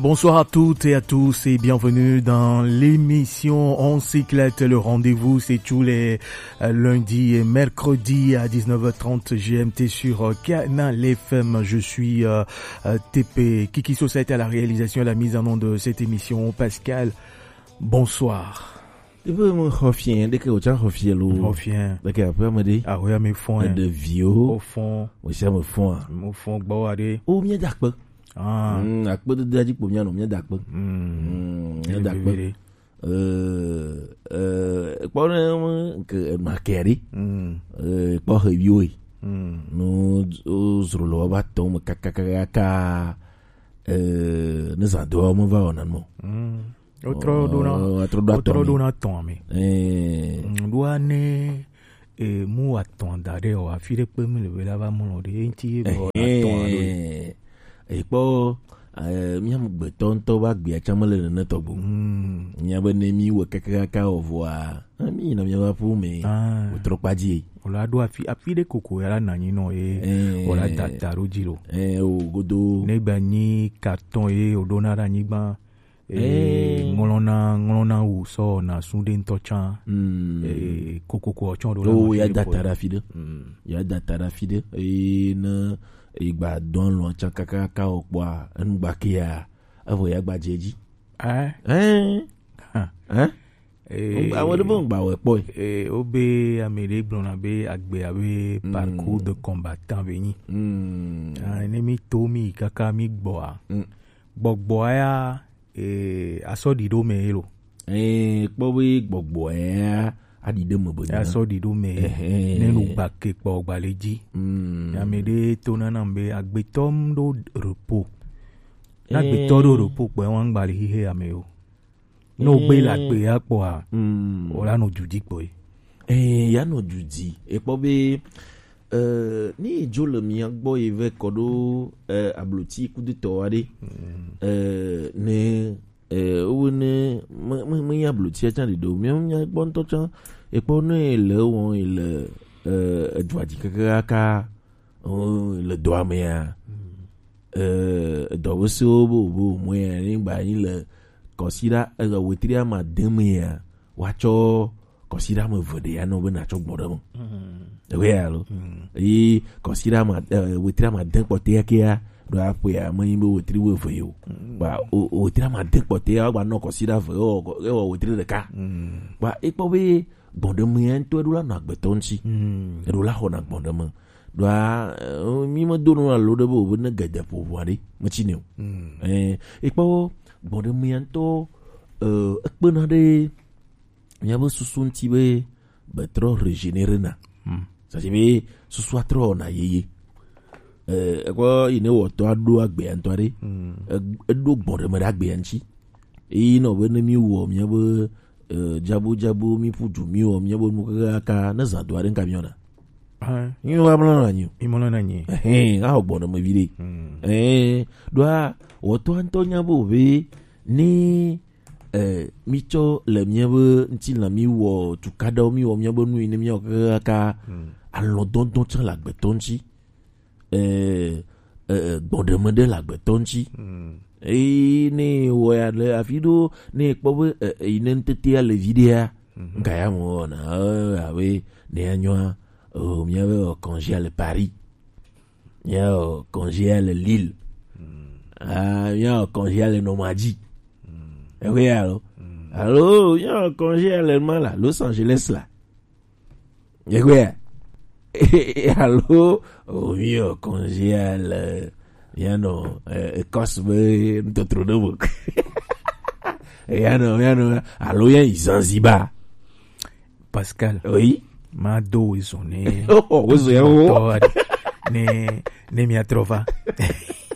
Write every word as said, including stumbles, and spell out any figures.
Bonsoir à toutes et à tous et bienvenue dans l'émission On Cyclette. Le rendez-vous, c'est tous les euh, lundis et mercredis à dix-neuf heures trente G M T sur euh, Canal F M. Je suis euh, euh, T P. Kiki Society à la réalisation et la mise en onde de cette émission. Pascal, bonsoir. Ibe mo xɔ fiẽ, ɖeke wòtsa xɔ fiẽ lo. Xɔ fiẽ. Ɖeke aƒea me ɖe. Aƒea me fɔn. Eɖe viwo. Wo fɔn. Wòsia me fɔn a. Mo fɔn gbɔ wa ɖe. O mía da kpe. Ah. Mm, akpe dede dzi kpo mía nɔ mía da kpe. Mm. Mm, mía da kpe. Eh, eh, kpɔ ne ke ma kɛ ɖe. Mm. Eh, kpɔ he viwo yi. Mm. No o zro lo ba tɔ me kakakaka. Eh, ne zã do me va wɔna mo. Mm. Wotrɔ ɖona, oh, wotrɔ ɖo atɔ wotrɔ me. Ɖona tɔn me. Eh. Mm, ɖoa ne e mu atɔn da ɖe o afi ɖe kpe mi le be la va mlɔ ɖe enti ye bɔ atɔn ɖo. Eh. Ekpɔ eh, mía gbetɔ ŋutɔ va gbea tsã mele nene tɔgbo. Mm. Mía be ne mi wɔ kekekaka o vɔa, eh, mi yina mía va ƒu me. Ah. Wotrɔ kpa dzi. O la ɖo afi afi ɖe koko ya la nanyi nɔ ye. Eh. O la data ɖo dzi lo. Eh, o godo. Ne gba nyi carton ye o ɖona ɖe anyigba. Eh, ŋlɔna ŋlɔna wu sɔ na su ɖe ŋutɔ tsã. Mm. Eh, kokoko tsɔ ɖo la. Oh, ya data ɖe afi ɖe. Mm. Ya data ɖe afi ɖe. Eh, ne igba dɔn lɔ tsã kakaka o kpɔa, enu gba ke ya, evo ya gba dze dzi. Eh? Eh? Ha. Eh? Eh, ame ɖe be ŋgba wɛ kpɔe. Eh, wo be ame ɖe gblɔna be agbe abe parcours de combattant be nyi. Mm. Ah, ne mi to mi kaka mi gbɔa. Mm. Gbɔgbɔa ya eh, asɔ ɖi ɖo me ye lo. Eh, kpɔ be gbɔgbɔ ya aɖi ɖe me be. Asɔ ɖi ɖo me. Ehɛn. Ne nu gba ke kpɔ gba le dzi. Mm. Ame ɖe to nana be agbetɔ m ɖo repos. Na agbetɔ ɖo repos kpɔ wa ŋgba le xixe ame yo. No gbe la gbe ya kpɔa. Mm. O la no dudi kpɔ ye. Eh, ya no dudi. E kpɔ be Eh, ni dzo le mia gbɔ yi vɛ kɔ ɖo eh, ablotsi kudutɔ aɖe. Mm. Eh, ne eh, wo ne me me me nya ablotia tsã ɖeɖe o. Mia mia gbɔ ŋutɔ tsã. Ekpɔ ne le wɔn yi le eh, edua dzi keke kaka oh, le dɔa mea. Mm. Eh, edɔ be se wo bo bo mo ya ni gba yi le kɔsiɖa eh, wetri ama de mea. Wa tsɔ kɔsiɖa me eve ɖe ya nɔ be natsɔ gbɔn ɖe me. Mm. Ewe ya lo. Mm. Eye kɔsiɖa ma eh, wetri ama de kpɔtɛ ya ke ya ɖo aƒe ya me nyi be wetri wo eve yo. Mm. Ba o wetri ama de kpɔtɛ ya gba nɔ kɔsiɖa eve ewɔ ewɔ wetri ɖeka. Mm. Ba ekpɔ be gbɔn ɖe me ya ŋutɔ eɖo la nɔ agbetɔ ŋuti. Mm. Eɖo la xɔna gbɔn ɖe me. Ɖoa eh, mi me do no alo ɖe be o be ne gede ƒo ʋua ɖe me tsi ne o. Mm. Eh, ekpɔ gbɔn ɖe me ya ŋutɔ eh, ekpena ɖe miabe susu ŋuti be be trɔ régénérer na. Hmm. C'est-à-dire be susua trɔ wɔna yeye. Eh, ekɔ yi ne wɔtɔ aɖo agbea ŋutɔ aɖe. Hmm. E- Eɖo gbɔn ɖe me ɖe agbea ŋuti. Eyi nɔ be ne mi wɔ miabe eh, dzabu dzabu mi ƒu du mi wɔ miabe nu kaka ne zã do aɖe ŋka mi wɔna. Ah. Mi wa mlɔ na nyi. Mi mlɔ na nyi. Ehɛn, a gbɔn ɖe me vi ɖe. Hmm. Eh, ɖoa wɔtɔ ŋutɔ nya be o be ni eh, mi tsɔ le miabe ŋutilã mi wɔ tukaɖawo mi wɔ miabe nu yi ne miawɔ kaka. Mm. Alɔdɔdɔ tsã le agbetɔ ŋuti. Eh, eh, eh, gbɔɖeme ɖe le agbetɔ ŋuti. Mm. Eye ne wɔ ya le afi ɖo ne kpɔ be eh, eh, yi ne ŋutete ya le vi ɖea. Mhm. Ŋka ya mo wɔna eh, abe ne ya nyɔa oh, miabe oh, congé le Paris. Miawɔ congé le Lille. Ah, miawɔ congé le Normandie. Ewe alo. Alo miawɔ congé le ma la Los Angeles la. Ewe. Alo o miawɔ congé le mianɔ eh, Écosse be ŋutɔtrɔ ɖe mo. Mianɔ mianɔ alo ya yi Zanzibar. Pascal. Oui. Ma do wezon ne. Oh, wezon ya wo. Tɔ aɖe. Ne ne mia trɔ va.